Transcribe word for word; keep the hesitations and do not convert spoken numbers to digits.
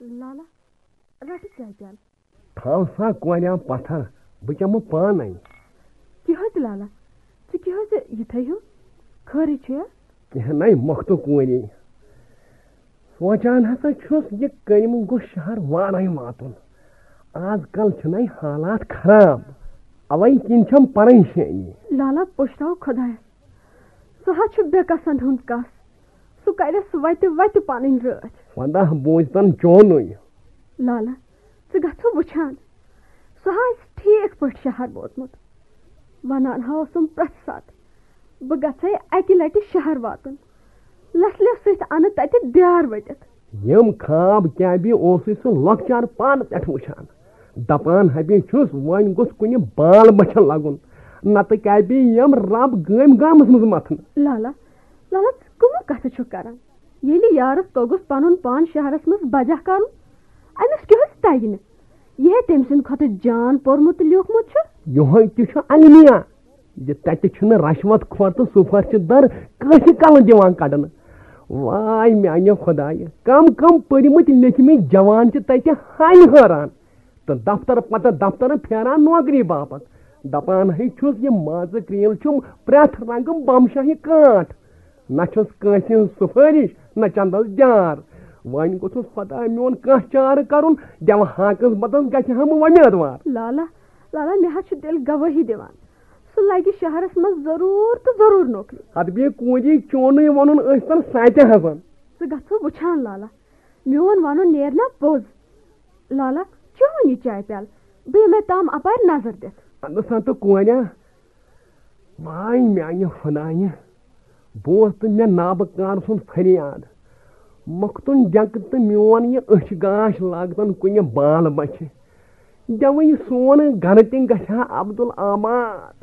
لالا، رٹہٕ چاے پیالہٕ۔ تھاو سا کوریا پتھر، بہٕ چمہٕ پانے۔ کیٛاہ حظ لالا، ژٕ کیٛاہ حظ یِتھے ہیوٗ؟ خٲرٕے چھُیا؟ کینٛہہ نَے مۄختہٕ کورے۔ سونٛچان ہسا چھُس، یہِ کٔمۍ گوٚژھ شہر وارَے واتُن۔ آز کل چھِنَے حالات خراب، اَوَے کِنۍ چھَم پریشٲنی۔ لالا، پُشراو خۄدایَس۔ سُہ حظ چھُ بے کسن ہُنٛد کس۔ سُہ کَرٮ۪س وَتہِ وَتہِ پنٕنۍ رٲچھ۔ وَنٛدہ بوٗزتن چونُے۔ لالا، ژٕ گژھو وٕچھان۔ سُہ ہا آسہِ ٹھیٖک پٲٹھۍ شہر ووتمُت۔ وَنان ہا اوسُم پرٛٮ۪تھ ساتہٕ، بہٕ گژھے اَکہِ لَٹہِ شہر واتُن۔ لَسلہِ سۭتۍ اَنہٕ تَتہِ دیار ؤٹِتھ۔ یِم خواب کیٛاہ بی اوسُے سُہ لۄکچار پانہٕ پٮ۪ٹھ وٕچھان۔ دَپان ہَبی چھُس، وۄنۍ گوٚژھ کُنہِ بال بَچھَن لَگُن۔ نَتہٕ کیٛاہ بی یِم رَب گٲمۍ گامَس منٛز مَتھنہٕ۔ لالا، لالا، ژٕ کٕمہٕ کَتھٕ چھُکھ کَران؟ ییٚلہِ یارَس توٚگُس پَنُن پان شہرَس منٛز بجا کَرُن، أمِس کیٛاہ حظ تَگہِ نہٕ؟ یہِ ہے تٔمۍ سٕنٛدِ کھۄتہٕ جان پوٚرمُت تہٕ لیوٗکھمُت چھُ۔ یِہوٚے تہِ چھُ المیہ، زِ تَتہِ چھُنہٕ رشوت خور تہٕ سُفرشہِ در کٲنٛسہِ کلہٕ دِوان کڑنہٕ۔ واے میانہِ خۄدایہِ، کم کم پٔرۍمٕتۍ لیٚکھمٕتۍ جوان چھِ تَتہِ ہانہِ حٲران تہٕ دفتر پتہٕ دفتر پھیران نوکری باپتھ۔ دپان ہے چھُس، یہِ مازٕ کرٛیٖل چھُم پرٛٮ۪تھ رنگہٕ بمشاہی کانٛٹھ۔ نہ چھُس کٲنٛسہِ ہٕنٛز سُفٲرِش، نہ چندس جار۔ وۄنۍ گوٚژھُس خۄداے میون کانٛہہ چارٕ کرُن، دِوہاکس بدس گژھِ ہا بہٕ وۄمیدوار۔ لالا، لالا، مےٚ حظ چھُ دِل گوٲہی دِوان۔ سُہ لگہِ شہرس منٛز ضروٗر تہٕ ضروٗر نوکری۔ ادٕ بیٚیہِ کوٗنجی چونُے وَنُن ٲسۍ تن ساتہِ حسن۔ ژٕ گژھو وٕچھان لالا، میون وَنُن نیرِ نا پوٚز۔ لالا، چون یہِ چاے پیالہٕ، بہٕ یِمے تام اپارِ نظر دِتھ۔ ادٕ سا تہٕ کوریا، واے میانہِ خۄدایہِ، بوز تہٕ مےٚ نابہٕ کار سُنٛد فریاد۔ مۄختُن ڈٮ۪کہٕ تہٕ میون یہِ أچھ گاش لاگتن کُنہِ بال بچھِ۔ گٮ۪وٕنۍ سون گرٕ تہِ گژھِ ہا عبدالآباد۔